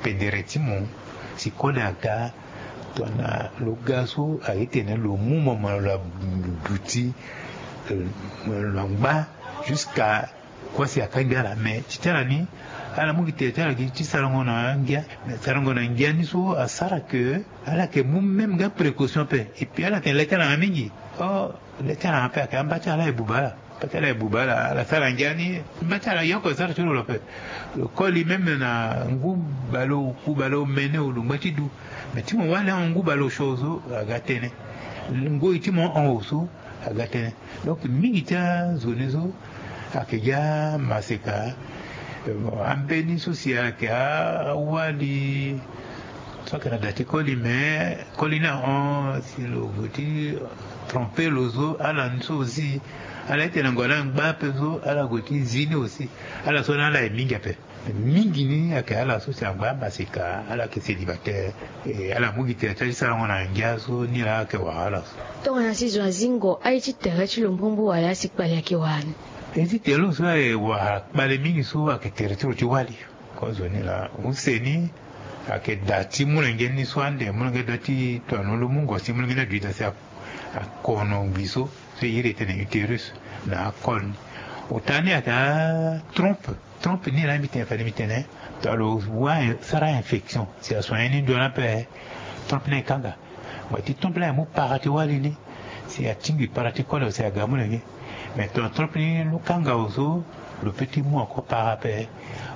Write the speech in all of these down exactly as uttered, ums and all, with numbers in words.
Pendere ti mo si koli aga. Tongana lo ga so aye tene lo mu mo mo lo aduti, lo angba jusqu'à kua si akangbi ala. Mais ti ti ala ni, ala mu gi tere ti ala gi ti sarango na ngia. Mais sarango na ngia ni so asara ke ala yeke mu même ga précaution ape. Et puis ala tene le ti ala nga mingi. Oh, le ti ala nga ape ayeke amba ti ala e buba ala. Amba ti ala e buba ala, ala sara ngia ni. Amba ti ala yoko e sara ti lo lo ape. Lo koli même na ngu baleoku baleomene o lo ngba ti du. Mais ti mo wali ahon ngu baleosio so aga tënë. Ngoi ti mo ahon oso aga tënë. Donc mingi ti azo ni so ayeke gi amaseka. Ambeni so si ayeke awali so ayeke na da ti koli, mais koli ni ahon si lo gue ti trompe lo so, ala ni so aussi. Ala ye tene ngona angba ape so ala gue ti zi ni aussi. Ala so na ala ye mingi ape. Mingi ni ayeke ala so si angba amaseka, ala yeke célibataire. E ala mu gi tere ti ala ti sarango na ngia so ni laa ayeke wara ala so. Tongana si zo azingo aye ti tere ti lo mbumbu wala asi kpale ayeke wara ni? E ti tere lo so aye wara kpale mingi so ayeke tere ti lo ti wali. Kozo ni laa use ni ayeke da ti molenge ni so ande molenge da ti toano lo mungo si molenge ni aduita si akono ngbi so so e iri e tene utérus na akol ni. Ota ni ayeke atrompe. Trompe ni laa mbi tene fade mbi tene tongana lo wâ sara infection si asoigné ni ndo ni ape. Trompe ni ekanga. Mo ti trompe ni aye mu para ti wali ni si atingbi para ti kole si aga molenge. Mais tongana trompe ni lo kanga oso, lo peut ti mu encore para ape.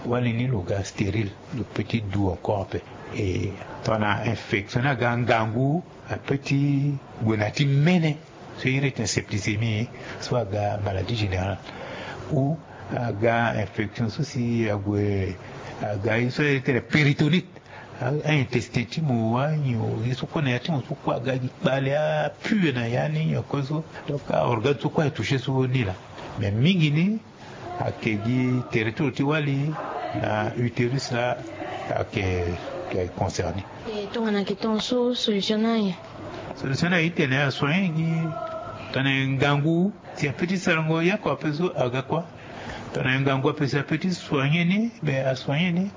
Wali ni lo ga stérile, lo peut ti du encore ape. E tongana infection ni aga ngangu, ape ti gue na ti mene. So iri tene septicémie so aga maladie générale. Ou aga infection so si ague aga ye so iri tene péritonite. Aintestin ti mo anyo ye so kue na ya ti mo so kue aga gi kpale apue na ya ni nyo kue so. Donc aorgane so kue aye touché so ni laa. Mais mingi ni ayeke gi tere ti lo ti wali na utérus laa ayeke concerné. E tongana ayeke tongaso solution ni aye? Solution ni aye ti tene asoigné gi. Tongana ngangu si ape ti sarango yako ape so aga kua. Tongana ngangu ape si ape ti soigné ni, mais asoigné ni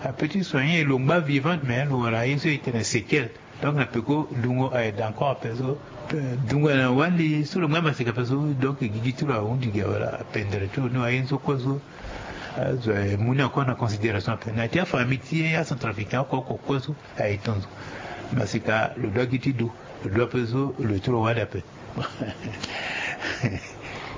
ape ti soigné lo ngba vivante mais lo wara ye so e tene séquelle. Donc na peko dungo aye da encore ape so. Dungo aye na wali so lo ngba maseka ape so. Donc gigi ti lo ahundi gi wala apendere ti lo ni aye so kue so. Azo aye mu ni encore na considération ape na ti afamille ti ye acentrafricain oko oko kue so aye tonzo. Maseka lo doit gi ti du. Lo doit ape so lo ye ti lo wali ape.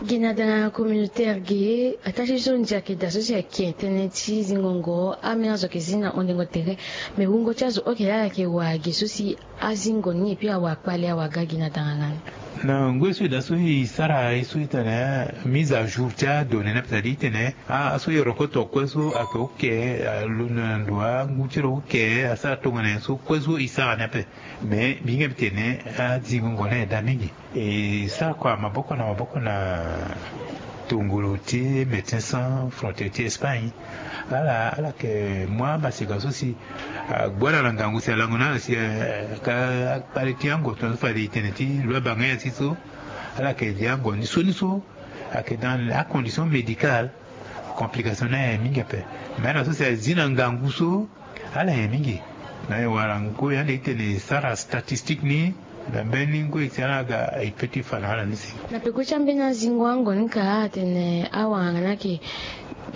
Gi na dana communautaire ge ataa ti so ndia ayeke daa so si ayeke tënë ti zingongo ambeni azo ayeke zi na hondengo tere. Me wungo ti azo oke laa ayeke wara ge so si azingo ni epui awara kpale awara ga gi na dana nga ni. Na ngoi so e daa so e sara ye so e tene mise à jour ti adonnée ni ape c'est à dire e tene aso e roko tokue so ayeke oke. Alondo na ndo angu ti lo oke asara tongana nyen so kue so e sara ni ape. Mais mbi hinga mbi tene azingongo ni aye daa mingi. E sara kua maboko na maboko na tongolo ti Médecins Sans Frontières ti Espagne. Ala ala yeke mu amaseka so si agbu ala na ngangu si alango na ala si aka akpale ti ango tongaso fade e tene ti lo abanga nyen si so. Ala yeke di ango ni so ni so ayeke dans acondition médicale. Complication ni aye mingi ape. Mais ala so si azi na ngangu so ala ye mingi. Na e wara ngoi ande e tene e sara statistique ni na mbeni ngoi si ala ga e peut ti fa na ala ni si. Na peko ti ambeni azingo ango ni ka atene awanganga ni ayeke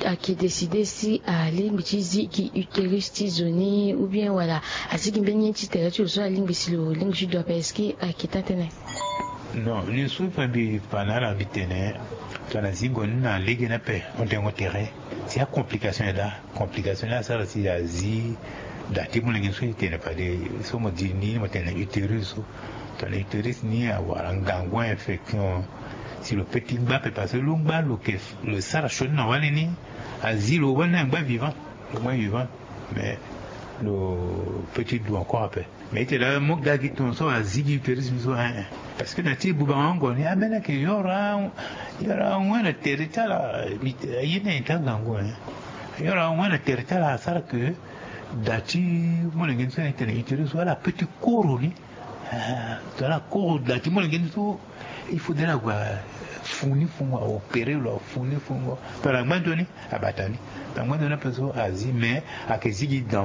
ayeke décidé si alingbi ti zi gi utérus ti zo ni ou bien wala azi gi mbeni ye ti tere ti lo so alingbi si lo lingbi ti du ape est-ce que ayeke taa tënë? Non ni so fa mbi fa na ala mbi tene tongana zingo ni na lege ni ape hondengo tere si acomplication e daa. Complication ni asara si azi da ti molenge ni so e tene fade so mo di ni mo tene utérus so. Tongana utérus ni awara ngangu infection si lo peut ti ngba ape parce que lo ngba lo ke lo sara sioni na wali ni. Azi lo wali ni angba vivant. Lo ngba vivant. Mais lo peut ti du encore ape. Mais e tene la mo ga gi tongaso azi gi utérus ni so hein. Parce que na ti bubango ango ni ambeni ayeke yoro yoro ango na tere ti ala. Aye ni aye ti angangu hein. Yoro ango na tere ti ala asara ke da ti molenge ni so ni tene utérus so ala peut ti koro ni. Ala koro da ti molenge ni so. Il faudrait ague afu ni fungo aopéré lo afu ni fungo. Tongana angba nzoni abata ni. Tongana angba nzoni ape so azi mais ayeke zi gi dans